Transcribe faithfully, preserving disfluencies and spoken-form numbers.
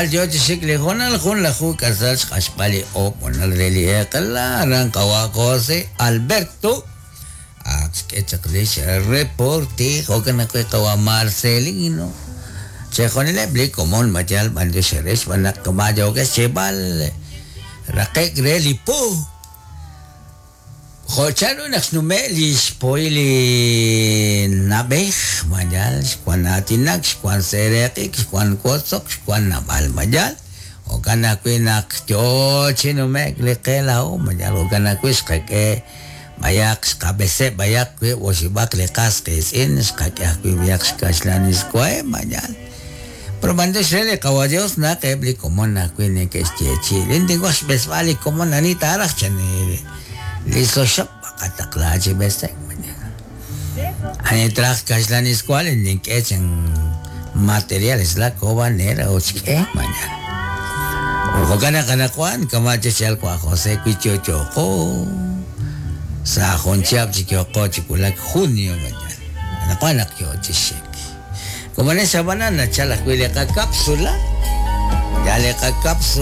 Rajlal yo chi xik li hoonal junlaju k'asal xq'axb'al li oob' honal re li eq'ela aran qawa' José Alberto ak xk'e chaq lix reporte jo'kan ajwi' qawa' Marcelino chejunileb' li komon mayal b'antiox eere xb'aan naq maayookex xyeeb'al raqe'k re li po jo' chanru naq xnume' li xpoy li na'b'ej mayal xwan aatinak xwan seeraq'ik xwan wotzok xwan naab'al mayal jo'kan ajwi' naq yoo chi nume'k li qe laa'o mayal jo'kan ajwi' xqak'e b'ayaq xqab'eseb' b'ayaq wiib' oxib'aq li qas qiitz'in xqak'e ajwi' b'ayaq xkaxlaniswaheb' mayal pero b'antiox re li qawa Dios naq eb' li komon ajwi' neke'xyeechi'i lin tinwaj xb'esb'al li komon ani taaraj chan li soxob' qataqla chi b'esek ani traj kaxlaniswa li nink'e chan materiales la cobanera ut xk'e mañana jo'kan naq anaqwan kama' chixyal wa José wi yo'yo'qo sa' jun chihab' chi yo'qo chi wulak junio mañana anaqwan naq yo chi xik como en esa banana nachal ajwi' li qacápsula ya li qacápsula.